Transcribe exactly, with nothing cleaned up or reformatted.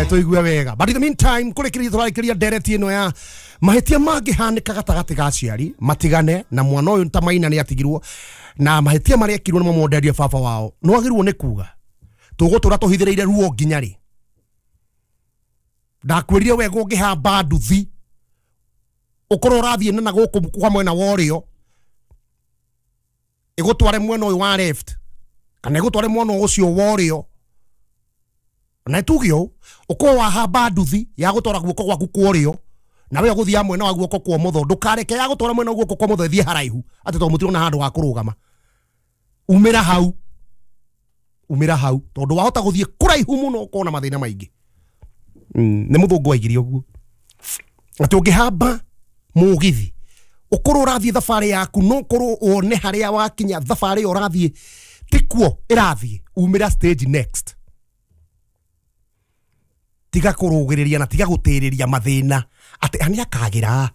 Eh, tũigue wega. But in the meantime, kũrĩkĩrĩria tũrarĩkĩria ndereti ĩno ya mahĩtia mangĩhanĩka gatagatĩ ga aciari matigane na mwana ũyũ ta Maina nĩ atigirwo na mahĩtia marĩa ekirwo nĩ mamonderie baba wao. Nĩ wagĩrĩirwo nĩ kuga tũgũtũra tũhithĩrĩire ruo nginya rĩ? Ndakwĩrire wega, ũngĩhamba nduthi ũkorwo ũrathiĩ na na gũkũ kwa mwena wa ũrĩo, ĩgũtware mwena ũyũ wa left kana ĩgũtware mwena ũcio wa ũrĩo, na tuge ũũ, ũkorwo wahamba nduthi ya gũtwara guoko gwaku kwa ũrĩo na we ũgũthiaga mwena wa guoko kwa ũmotho, ndũkareke ya gũtwara mwena wa guoko kwa ũmotho ĩthiĩ haraihu atĩ tondũ mũtirona handũ ha kũrũgama. Umĩra hau, umĩra hau, tondũ wahota gũthiĩ kũraihu mũno ũkona mathĩna maingĩ. Mm, nĩ mũthũngũ waigire ũguo atĩ ũngĩhamba mũgithi ũkorwo ũrathiĩ thabarĩ yaku, no ũkorwo wone harĩa wakinya thabarĩ ĩyo ũrathiĩ tikuo ĩrathiĩ, umĩra stage next. Tiga kũrũgĩrĩria na tiga gũtĩrĩria mathĩna atĩ nĩ akagĩra.